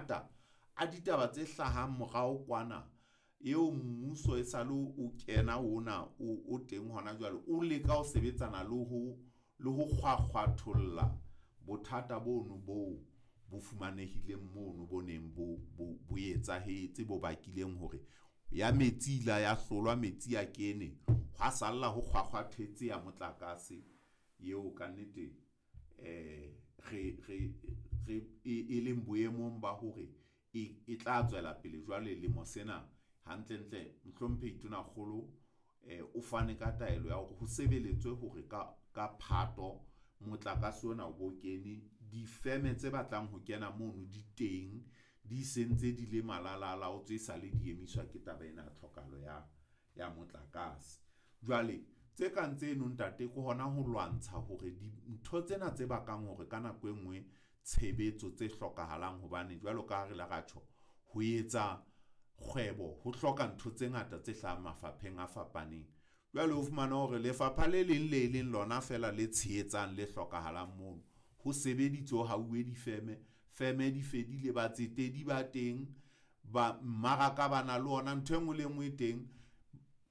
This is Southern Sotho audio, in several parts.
mangata a ditaba tse hlahang morao kwana eo mmuso e sale o kena ona o teng hona jwale, o leka ho sebetsana le ho le ho kgwakgwatholla bothata bono boo bo fumanehileng mono bo neng bo bo etsahetse, bo bakileng hore ya metsi ila ya hlolwa metsi a kene, hwa salla ho kgwakgwathetse ya motlakase eo kannete re re re e leng boemong ba hore e tla tswela pele jwale lemo sena. Hantlentle Mohlomphehi Tonakgolo o fane ka taelo ya hore ho sebeletswe hore ka Phato motlakase ona o bo kene. Difeme tse batlang ho kena mono di teng, di sentse di le malalalaotswe esale di emiswa ke taba ena ya tlhokahalo ya motlakase. Jwale tse kang tseno ntate ke hona ho lwantsha hore dintho tsena tse bakang hore ka nako e nngwe tshebetso tse hlokahalang hobane jwalo ka ha re ile ra tjho, ho etsa kgwebo ho hloka ntho tse ngata tse hlahang mafapheng a fapaneng. Jwale o fumana hore lefapha le leng le leng lona feela le tshehetsang le hlokahalang mono. Ho sebeditswe ho hauwe difeme, feme di fedile, batsetedi ba teng, ba mmaraka ba na le ona, ntho e nngwe le e nngwe e teng.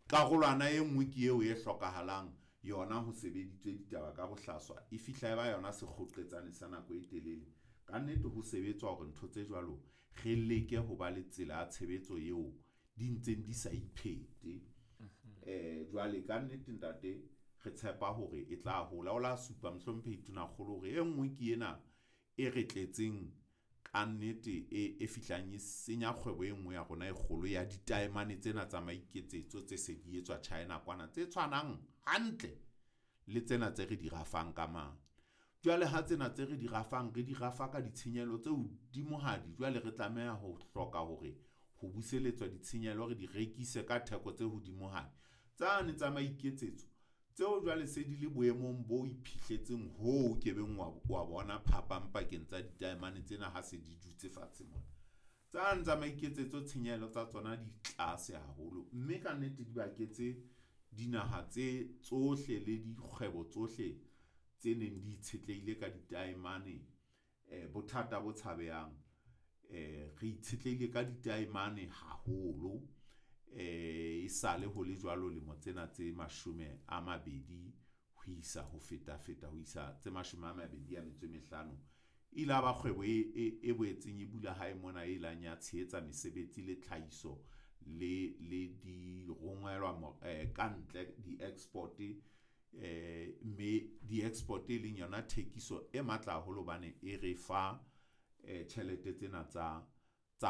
Karolwana e nngwe ke eo e hlokahalang yona ho sebeditswe ditaba ka bohlaswa, e fihla e ba yona sekgoqetsane sa nako e telele. Kannete ho sebetswa hore ntho tse jwalo re leke ho ba le tsela ya tshebetso eo di ntseng di sa iphete. Jwale kannete ntate re tshepa hore e tla hola. O la supa Mohlomphehi Tonakgolo hore e nngwe ke ena e re tletseng kannete e fihlang e senya kgwebo e nngwe ya rona e kgolo ya ditaemane tsena tsa maiketsetso tse se di etswa China kwana, tse tshwanang hantle le tsena tse re di rafang ka mane. Jwale ha tsena tse re di rafang, re di rafa ka ditshenyehelo tse hodimohadi, jwale re tlameha ho hloka hore ho buseletswa ditshenyehelo re di rekise ka theko tse hodimohadi. Tsane tsa maiketsetso tseo jwale se di le boemong bo iphihletseng hoo o ke beng wa bona phapang pakeng tsa ditaemane tsena ha se di dutse fatshe mona. Tsane tsa maiketsetso tshenyehelo tsa tsona di tlase haholo, mme kannete di baketse dinaha tse tsohle le dikgwebo tsohle tse neng di itshetlehile ka ditaemane bothata bo tshabehang. Re itshetlehile ka ditaemane haholo, e sale ho le jwalo lemo tsena tse 20 ho isa ho feta feta ho isa tse 25. E ile ya ba kgwebo e boetseng e bula hae mona e ilang ya tshehetsa mesebetsi le tlhahiso le di rongwelwa ka ntle di-export, mme di-export e leng yona thekiso e matla haholo hobane e re fa tjhelete tsena tsa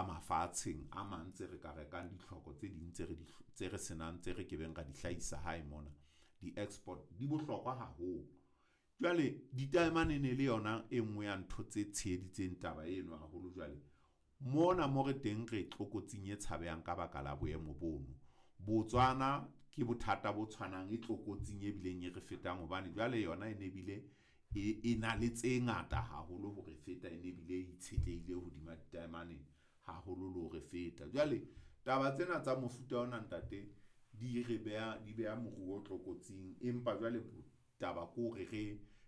mafatsheng a mang tse re ka rekang ditlhoko tse ding tse re di tse re senang tse re kebeng ra di hlahisa hae mona. Di-export di bohlokwa haholo. Jwale ditaemane ne le yona e nngwe ya ntho tse tsheheditseng taba eno haholo. Jwale mona mo re teng re tlokotsing e tshabehang ka baka la boemo bono. Botswana ke bothata bo tshwanang, e tlokotsing e bileng e re fetang hobane jwale yona e ne bile e na le tse ngata haholo ho re feta, e ne bile e itshetlehile hodima ditaemane haholo le ho re feta. Jwale taba tsena tsa mofuta ona ntate di re beha di beha moruo tlokotsing, empa jwale taba ke hore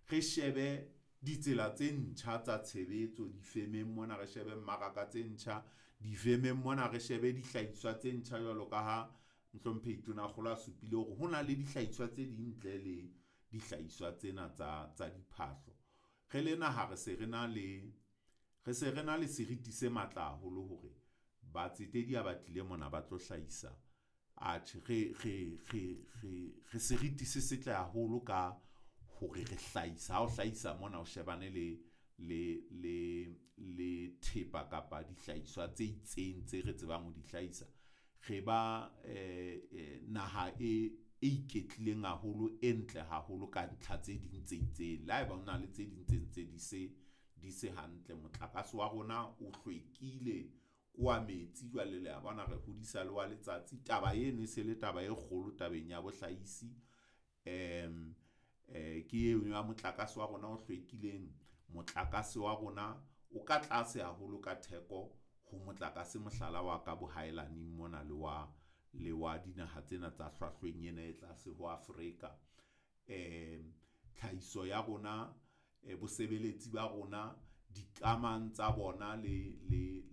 re shebe ditsela tse ntjha tsa tshebetso difemeng mona, re shebe mmaraka tse ntjha difemeng mona, re shebe dihlahiswa tse ntjha jwalo ka ha Mohlomphehi Tonakgolo a supile hore ho na le dihlahiswa tse ding ntle le dihlahiswa tsena tsa diphahlo. Re le naha re se re na le re se re na le seriti se matla haholo hore batsetedi ha ba tlile mona ba tlo hlahisa. Atjhe, re seriti se setle haholo ka hore re hlahisa. Ha o hlahisa mona o shebane le thepa kapa dihlahiswa tse itseng tse re tsebang ho di hlahisa. Re ba naha e iketlileng haholo, e ntle haholo ka ntlha tse ding tse itseng. Le haeba ho na le tse ding tse ntse di se hantle. Motlakase wa rona o hlwekile, ke wa metsi jwale le a bona re hodisa le wa letsatsi. Taba eno e se le taba e kgolo tabeng ya bohlahisi. Ke eno ya motlakase wa rona o hlwekileng. Motlakase wa rona o ka tlase haholo ka theko ho motlakase mohlala wa ka bohaelaning mona le wa dinaha tsena tsa hlwahlweng ena e tlase ho Afrika. Tlhahiso ya rona, bosebeletsi ba rona, dikamang tsa bona le